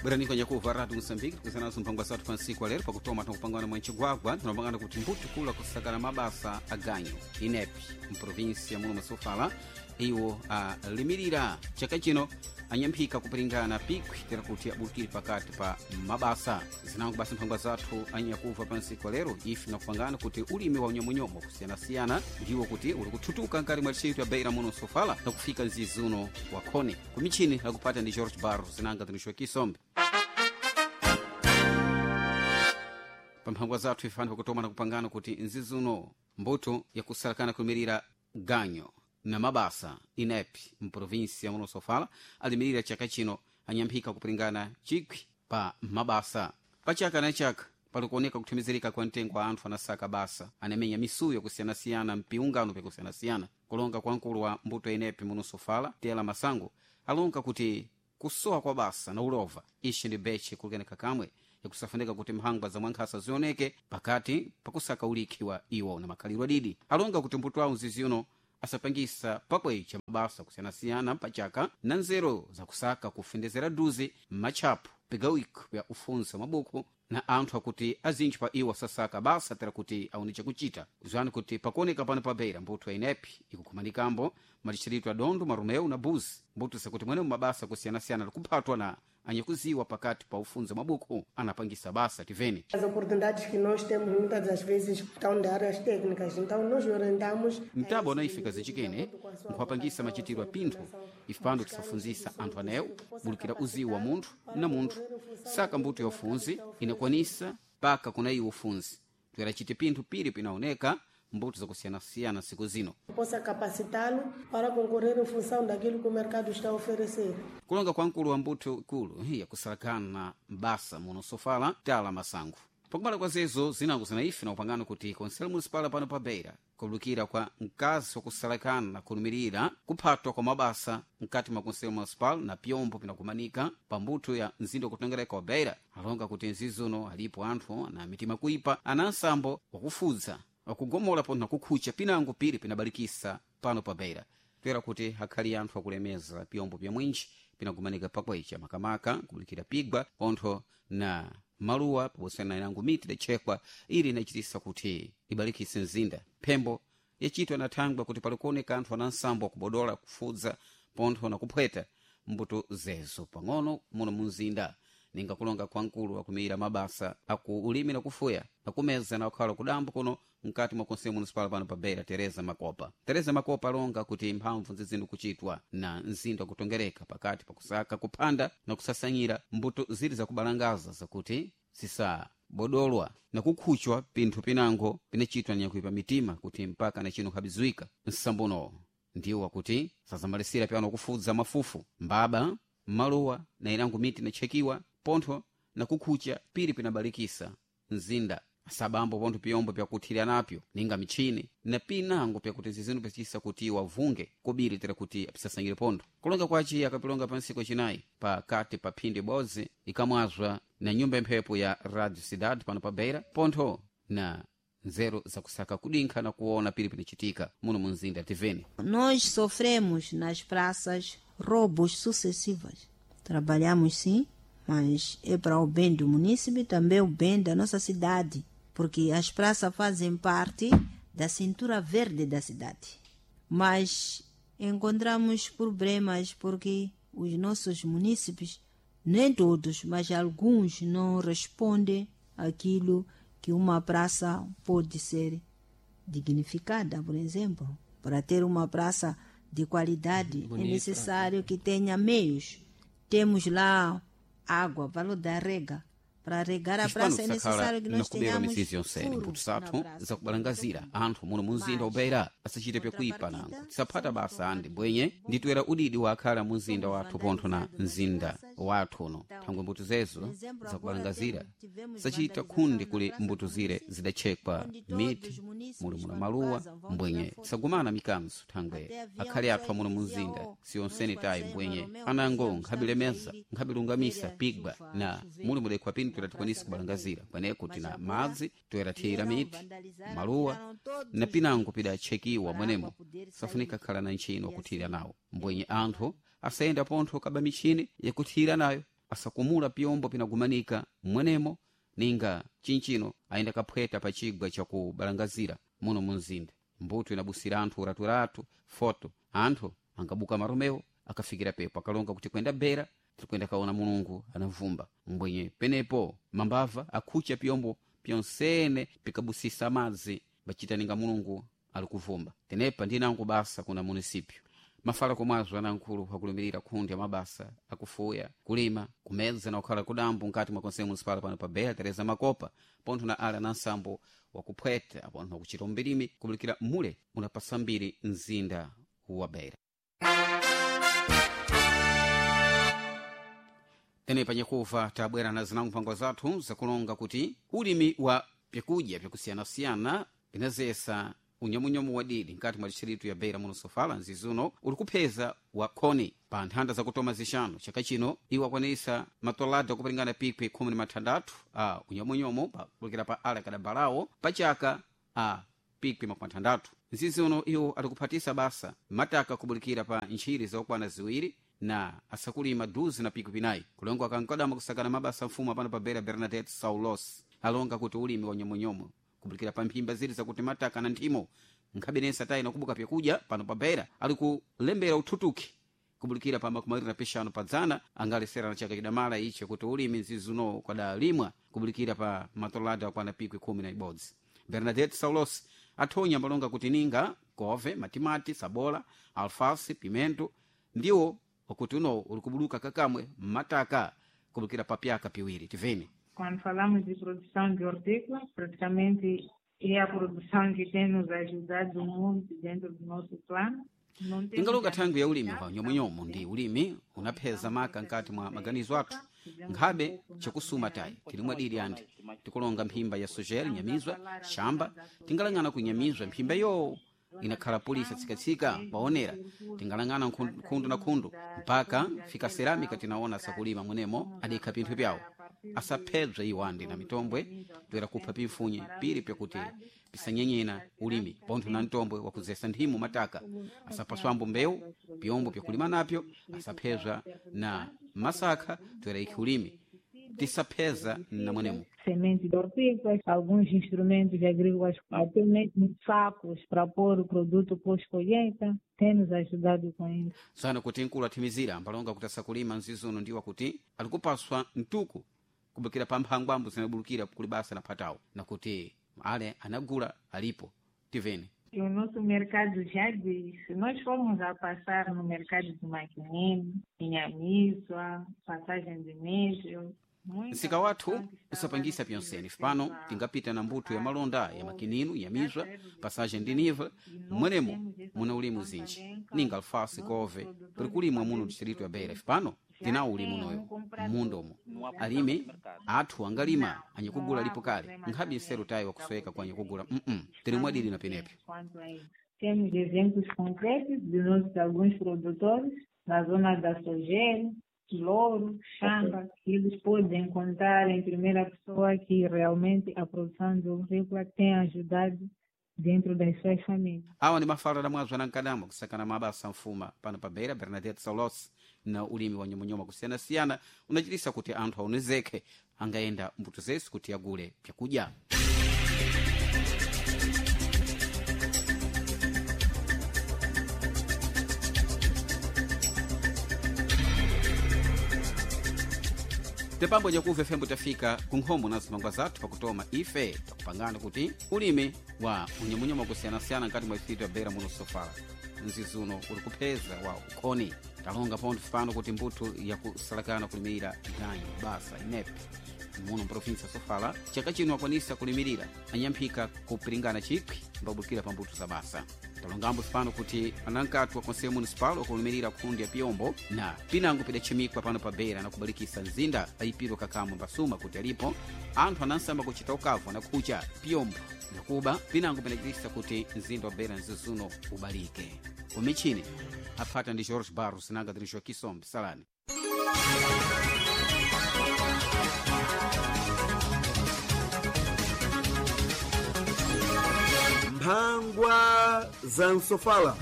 Bwerani kwenye kuva Radio Moçambique tikuzanazo mphangwa zathu pa ntsiku alero pakutoma tinakupangana mwa ncigwagwa tinapangana kuti mbuto kula kusakana mabasa aganyu inepi mprovinsia muno masofala iwo alimirira chaka chino anyamphika kupiringana pikwi tera kuti abulukire pakati pa mabasa zinango basi mphangwa zathu anyakuva pa ntsiku alero ife nakupangana kuti ulimi wa unyomunyomo kusiyanasiyana ndiwo kuti uli kuthutuka nkati mwa distrito ya beira muno sofala nakufika mzizi uno wa khone kumichini lakupata ndi George Barro zinanga zinixwa kisombe pamphangwa zathu ifani pakutoma nakupangana kuti nzizi uno mbuto yakusalakana kulimirira ganyo na mabasa inep mprovinsia muno sofala alimirira chaka chino anyamphika kupiringana chikwi pa mabasa pachaka na chaka palikuoneka kuthimizirika kwa mtengo wa anthu anasaka basa anamenya misuyo kusiyanasiyana mpiungano pyakusiyanasiyana kulonga kwa mkulu wa mbuto inepi muno sofala tela masango alonga kuti kusowa kwa basa na ulova ishi ndi beche kulikeneka kamwe yakusafunika kuti mphangwa za mwankhasa zioneke pakati pakusaka ulikhi wa iwo na makhalidwe adidi alonga kuti mbuto awo mzizi uno asapangisa pakwecha mabasa kusiyanasiyana pachaka na nzeru zakusaka kufendezera duzi m'matchapo pigawiko pya ufunsa mabuku na anthu akuti azintchi pa iwo asasaka basa tera kuti aone chakuchita zwani kuti pakuoneka pano pa beira mbuto ya inepi ikukhumanikambo madistrito ya dondo marumeu na buzi mbuto zakuti mwenemo mabasa kusiyanasiyana likuphatwa na anyakuziwa pakati pa ufunza mabuku anapangisa basa tiveni. As oportunidades que nós temos muitas das vezes estão de áreas técnicas, então nós orientamos. Mtabo anaifika zichikene nkuwapangisa machitiro a pinthu ife pano tisafunzisa anthu anewo bulukira uziwu wa munthu na munthu saka mbuto ya ufunzi inakwanisa paka kuna iwo ufunzi toera chite pinthu piri pinaoneka mbuto zakusiyanasiyana siku zino Possa capacitá-lo para concorrer em função daquilo que o mercado está a oferecer. Kulonga kwa mkulu wa mbuto ikulu yakusalakana mbasa muno sofala tala masango pakumala kwa zezo zinango zinaife na upangano kuti konselo municipal pano pa beira kubulukira kwa mkazi wakusalakana na kulumirira kuphatwa kwa mabasa mkati mwa konselo municipal na pyombo pinakumanika pa mbuto ya mzinda wakutongereka wa beira alonga kuti mzizi uno alipo anthu ana mitima kuipa ana nsambo wakufudza wakugomola pontho nakukhucha pinango piri pinabalikisa pano pa beira toera kuti akhali anthu akulemeza pyombo pya mwinji pinakumanika pakwecha makamaka kubulikira pigwa pontho na maluwa pabosana na inango miti idachekwa ili inachitisa kuti ibalikise mzinda phembo yachitwa na thangwa kuti palikuoneka anthu ana nsambo akubodola kufudza pontho na kuphweta mbuto zezo pang'ono muno mumzinda ninga kulonga kwa mkulu akumira mabasa aku ulimi na kufuya akumeza na kukhala kudambo kuno mkati mwa konseyo municipal pano pa beira Tereza Makopa. Tereza Makopa alonga kuti mphamvu zizinu kuchitwa na mzinda wakutongereka pakati pakusaka kuphanda na kusasanyira mbuto ziri zakubalangaza zakuti zisabodolwa na kukhuchwa pinthu pinango pinachitwa nyakuipa mitima kuti mpaka na chino khabizuika nsambuno ndiwo wakuti sazamalisira pyano kufudza mafufu mbaba maluwa na inango miti inachekiwa pontho na kukhucha piri pinabalikisa mzinda asabambo pontho piyombo pyakuthirira napyo ninga michini na pinango pyakuti zizinu pachisa kuti wavunge kobiri tera kuti apisasangire pontho kulonga kwaci akapilonga pa ntsiku yacinayi pakati pa phindi ibodzi ikamwazwa na nyumba imphepo ya Radio Cidade pano pa beira pontho na nzeru zakusaka kudinkha na kuona piri pinachitika muno mu mzinda tiveni. Nós sofremos nas praças roubos sucessivos. Trabalhamos sim, mas é para o bem do município e também o bem da nossa cidade, porque as praças fazem parte da cintura verde da cidade. Mas encontramos problemas porque os nossos munícipes, nem todos, mas alguns não respondem àquilo que uma praça pode ser dignificada, por exemplo. Para ter uma praça de qualidade Bonita. É necessário que tenha meios. Temos lá água, valor da rega. Para regar a Chipano praça é kusakhala necessário que nós nakubera tenhamos misizi yonsene furo mbuto na zathu praça. zakubalangazira anthu muno mu mzinda wa Beira asachite pyakuipa nango tisaphata basa andi bwenye nditwera udidi wakhala mu mzinda wathu pontho na mzinda wathu uno thangwe mbuto zezo zakubalangazira sachita khundi kuli mbuto zire zidachekwa miti muli muna maluwa mbwenye tisagumana mikanzo thangwe akhale athu amuno mu mzinda siyonsene tayi mbwenye anango nkhabilemeza nkhabilungamisa pigwa na muli mudekhwa pinthu toera tikwanise kubalangazira kweneko tina madzi toera thiyira miti maluwa na pinango pidachekiwa mwenemo safunika khala na ntchino wakuthirira nawo mbwenye anthu asayenda pontho kaba michini yakuthirira nayo. Asakumula pyombo pinagumanika mwenemo ninga chinchino ayenda kaphweta pa chigwa chakubalangazira muno munzinda. Mbuto inabusira anthu uraturatu foto anthu angabuka maromewo akafikira pepo akalonga kuti kwenda bera tirikwenda kaona Mulungu anavumba mbwenye penepo mambava akhucha pyombo pyonsene pikabusisa madzi bachita ninga Mulungu ali kuvumba. Tenepa ndinango basa kuna munisipyo mafala komwazo anankhulu akulumirira khundi ya mabasa akufuya kulima kumedza na kukhala kudambo nkati mwa konseyo munisipala pano pa Beira Tereza Makopa pontho na ala na nsambo wakuphweta apontho nakuchita umbirimi kubulikira mule unapasambiri mzinda wa Beira. Tenepa nyakuva tabwera na zinango mpango zathu zakulonga kuti ulimi wa pyakudya pyakusiyanasiyana pinazesa unyomunyomu wadidi nkati mwa distritu ya Beira muno Sofala nzizuno uli kupheza wa khoni pa nthanda zakutoma zixanu chaka chino iwo akwanisa matolada akupiringana pikwi 16 a unyomunyomu pakulikira pa ala kadabalawo pachaka a pikwi 60. Nzizi uno iwo ali kuphatisa basa mataka kubulikira pa ntchiri zakukwana 2 na asakulima duzi na pikwi pinayi kulongo akankadama kusakana mabasa mfumu apano pa Beira Bernadette Saulos alonga kuti ulimi wa nyomunyomu kubulikira pa mphimba ziri zakuti mataka na nthimo nkhabenesa tayi nakubuka pyakudya pano pa Beira ali kulembera uthutuki kubulikira pa 25 pa dzana angalesera na chaka chidamala ichi kuti ulimi nzizuno kwadalimwa kubulikira pa matolada akwana pikwi 11. Bernadette Saulos athonya malonga kuti ninga kove matimati sabola alfasi pimento ndiwo wakuti uno uli kubuluka kakamwe mataka kubulikira pa pyaka piwiri. Tiveni. Quando falamos de produção de hortícola, praticamente é a produção que tem nos ajudado muito dentro do nosso plano. Ingaloka thangwi ya ulimi wa nyomunyomu ndi ulimi unapheza maka nkati mwa maganizo athu nkhabe chakusuma tayi tilimwa dili andi tikulonga mphimba ya sojera nyamizwa shamba tingalang'ana kunyamizwa mphimba yo inakhala polisi atsikatsika paonera tingalang'ana khundu na khundu mpaka fika seramika tinaona sakulima mwenemo adikha pinthu pyawo asaphebza iwandi na mitombwe toera kupha pimfunye pili pyakuti pisanyenyena ulimi pontho na mtombwe wakuzesa nthimu mataka asapaswambo mbewu pyombo pyakulima napyo asaphezwa na masakha toera ikhi ulimi tisapheza na mwenemo. Sementes de hortícolas, alguns instrumentos agrícolas, até mesmo sacos para pôr o produto pós-colheita, tem nos ajudado com isso. Tsana kuti nkulu athimizira ambalonga kuti asakulima nzizuno ndiwa kuti alikupaswa mtuku kubukira pa mphangwambo zinabulukira kuli basa na phatawo nakuti ale anagula alipo. Tiveni. O nosso mercado já diz, se nós formos a passar no mercado de Maquinene, Inhamizwa, passagem de nível, msika wathu usapangisa pyonsene pano tingapita na mbuto ya malonda ya makininu ya mizwa passagem de nível mwenemo muna ulimu zinji ninga alfasi kove pali kulimwa muno distrito ya Beira pano tinawo ulimu noyo mmundomo alimi athu angalima anyakugula lipo kale nkhabe nseru tayi wakusweka kwa anyakugula tili mwadili na penepo. Temos exemplos concretos de nossos alguns produtores na zona da Sogel, Louro, Xamba, que eles podem contar em primeira pessoa que realmente a produção de hortícola tem ajudado dentro das suas famílias. Awa ni mafala da mwazo anankadama kusakana mabasa mfuma pano pa Beira Bernadette Saulos na ulimi wa nyomonyomo kusiyanasiyana unachitisa kuti anthu aonezeke angayenda mbuto zesu kuti agule pyakudya. Tepambo nyakuva fembo tafika kunkhomo na zimangwa zathu pakutoma ife takupangana kuti ulimi wa unyomunyomo kusiyanasiyana nkati mwa distrito ya Beira muno Sofala nzizuno uli kupheza wa ukhoni talonga pontho pano kuti mbuthu yakusalakana kulimirira ganyu basa inepe muno mprovinsi ya Sofala chaka chino akwanisa kulimirira anyamphika kupiringana chikwi mbabukira pa mbuto za basa. Talongambo pano kuti anankatu wa konseyo municipal wakulimirira khundi ya piyombo na pinango pidachimikwa pano pa Beira na kubalikisa mzinda ayipirwa kakamwe mbasuma kuti alipo anthu anansamba kuchita ukavu anakhucha piyombo nakuba pinango pinachitisa kuti mzinda wa Beira nzizuno ubalike. Umichini aphata ndi George Barros nanga tiri Joaquim Sombe salani. Mphangwa za Nsofala.